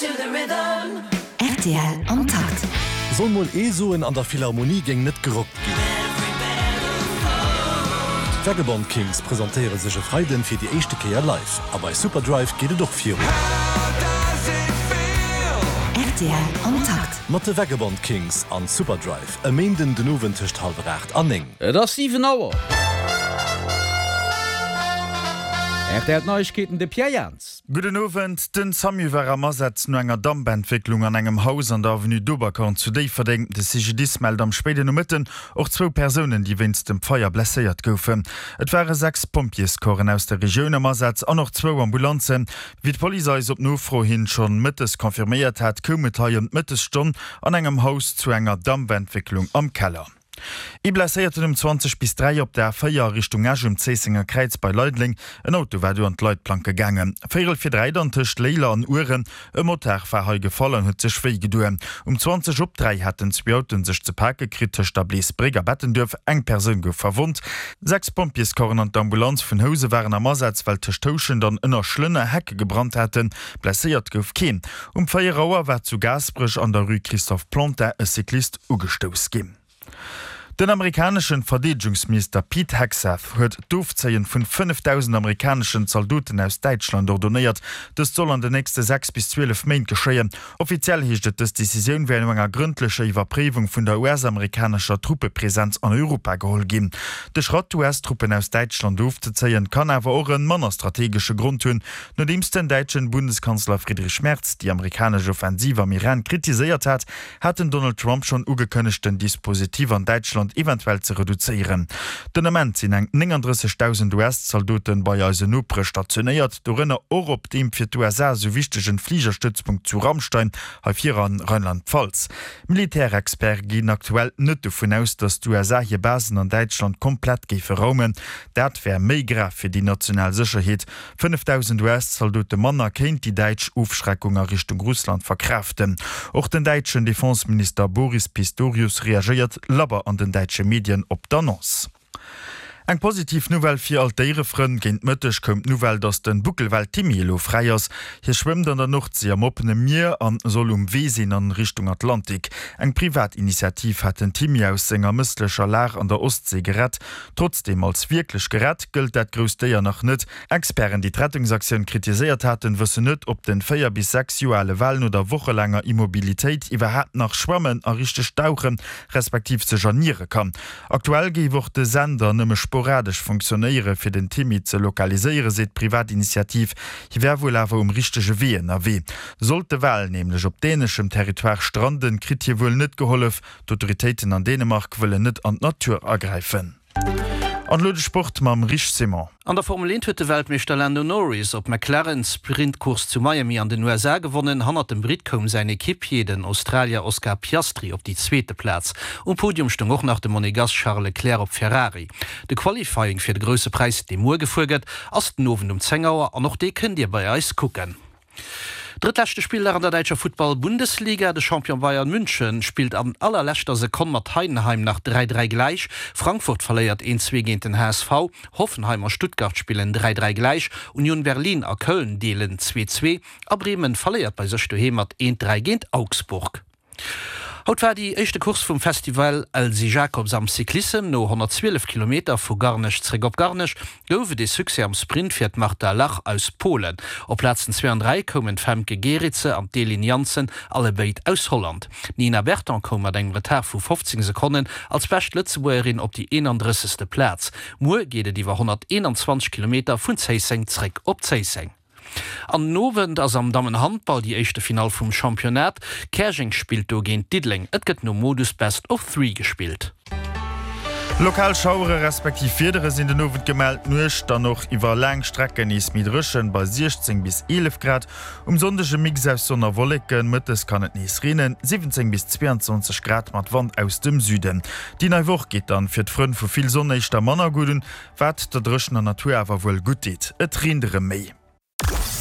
Rtl am Takt. Soll mol ee soen, an der Philharmonie géing net gerockt ginn. D'Vagabond Kings presentéiere sech e Freiden fir déi éischte Kéier live. A bei Superdrive geet et och virun. Rtl am Takt. Mat de Vagabond Kings an Superdrive e Méinden den Owend tëscht hallwer 8 an 9. Et ass 7 Auer. Rtl Neiegkeeten, de Pierre Jans. Gudden Owend. Den Samu war am Asaz no enger Dampentwécklung an engem Haus an der Avenue d'Oberkorn zu Déifferdeng. De CGDIS mellt am spéiden Nomëtten och zwou Persounen, déi wéinst dem Feier blesséiert goufen. Et ware 6 Pompjeescorpsen aus der Regioun am Asaz an och zwou Ambulanzen. Wéi d'Police eis op Nofro hin schonn mëttes confirméiert hat, koum et hei ëm d'Mëttesstonn an engem Haus zu enger Dampentwécklung am Keller. Ee Blesséierten um 20 bis 3 op der A4 a Richtung Esch um Zéissenger Kräiz bei Leideleng. En Auto war do an d'Leitplanke gaangen. Véierel vir 3 dann tëscht Léiler an Ueren. E Motard war hei gefall an huet sech wéi gedoen. Um 20 op 3 haten zwee Autoen sech ze pake kritt tëscht der Bleesbréck a Bettenduerf. Eng Persoun gouf verwonnt. 6 Pompjeescorpsen an d'Ambulanz vun Housen waren am Asaz, well tëscht Houschent an Ënnerschlënner Hecke gebrannt haten. Blesséiert gouf keen. Um 4 Auer war zu Gaasperech an der Rue Christophe Plantin e Cyclist ugestouss ginn. Den amerikaneschen Verdeedegungsminister Pete Hegseth huet d'Ofzéien vun 5.000 amerikaneschen Zaldoten aus Däitschland ordonéiert. Dëst soll an den nächste 6 bis 12 Méint geschéien. Offiziell heescht et, dës Decisioun wär no enger grëndlecher Iwwerpréiwung vun der US-amerikanescher Truppepresenz an Europa geholl ginn. De Schratt, d'US-Truppen aus Däitschland ofzezéien, kann awer och en manner strategesche Grond hunn. Nodeems den däitschen Bundeskanzler Friedrich Merz déi amerikanesch Offensiv am Iran kritiséiert hat, hat den Donald Trump schonn ugekënnegt, den Dispositif an Däitschland eventuell ze reduzéieren. Den Ament sinn eng 39.000 US-Zaldoten bei eisen Nopere stationéiert, dorënner och op deem fir d'USA esou wichtegen Fligerstëtzpunkt zu Ramstein, hei vir a Rheinland-Pfalz. Militärexperte ginn aktuell net dovun aus, datt d'USA hir Basen an Däitschland komplett géife raumen. Dat wär méi grav fir déi national Sécherheet. 5.000 US-Zaldote manner kéint déi däitsch Ofschreckung a Richtung Russland verkraaften. Och den däitschen Defenseminister Boris Pistorius reagéiert labber an den däitsche Medien op d'Annonce. Eng positiv Nouvelle fir all d'Déierefrënn, Géint Mëtteg koum d'Nouvelle, datt den Buckelwal Timmy elo fräi ass. Hie schwëmmt an der Nordsee am oppene Mier an soll um Wee sinn an Richtung Atlantik. Eng privat Initiativ hat den Timmy aus senger mësslecher Lag an der Ostsee gerett. Trotzdeem als wierklech gerett gëllt dat grousst Déier nach net. Experten, déi d'Rettungsaktioun kritiséiert haten, wëssen net, ob den 4 bis 6 Joer ale Wal no der wochelaanger Immobilitéit iwwerhaapt nach schwammen a richteg dauchen, respektiv sech erniere kann. Aktuell géif och de Sender nëmme sporadesch funktionéiere fir den Timmy ze lokaliséieren, seet d'Privatinitiativ. Hie wär wuel awer um richtege Wee ënnerwee. Sollt de Wal nämlech op däneschem Territoire stranden, kritt hie wuel net gehollef. D'Autoritéiten an Dänemark wëllen net an d'Natur agräifen. An elo de Sport mam Rich Simon. An der Formel 1 huet de Weltmeeschter Lando Norris op McLaren d'Sprintcourse zu Miami an den USA gewonnen. Hannert dem Britt koum säin Equipier, den Australier Oscar Piastri, op déi zweete Plaz. Um Podium stoung och nach de Monegass Charles Leclerc op Ferrari. De Qualifying fir de Grousse Präis, dee muer gefuer gëtt, ass den Owend um 10 Auer an och dee kënnt Dir bei eis kucken. Drëttleschte Spilldag an der däitscher Futtball-Bundesliga, De Champion Bayern München spillt an allerleschter Sekonn mat Heidenheim nach 3, 3 gläich. Frankfurt verléiert 1, 2 géint den HSV. Hoffenheim a Stuttgart spillen 3, 3 gläich. Union Berlin a Köln deelen 2, 2 a Bremen verléiert bei sech doheem mat 1, 3 géint Augsburg. Haut war déi éischte Course vum Festival Elsy Jacobs am Cyclissem. No 112 Kilometer vu Garnech zréck op Garnech gouf et ee Succès am Sprint fir d'Marta Lach aus Polen. Op Plazen 2 an 3 koumen d'Femke Gerritse an d'Elin Janssen, allebéid aus Holland. D'Nina Berton koum mat engem Retard vu 15 Sekonnen als bescht Lëtzebuergerin op déi 31. Plaz. Muer geet et iwwer 121 Kilometer vun Zéisseng zréck op Zéisseng. An den Owend ass am Dammenhandball déi éischte Finall vum Championnat. Käerjeng spillt do géint Diddeleng. Et gëtt nom Modus Best of Three gespillt. Lokal Schauere respektiv Wiedere sinn den Owend gemellt, d'Nuecht dann och iwwer laang Strecken nees méi dréchen bei 16 bis 11 Grad. Um Sonndeg e Mix aus Sonn a Wolleken, mëttes kann et nees reenen, 17 bis 22 Grad mat Wand aus dem Süden. Déi nei Woch geet dann fir d'Frënn vu vill Sonn éischter manner gutt un, wat der dréchener Natur awer wuel gutt deet. Et reent erëm méi.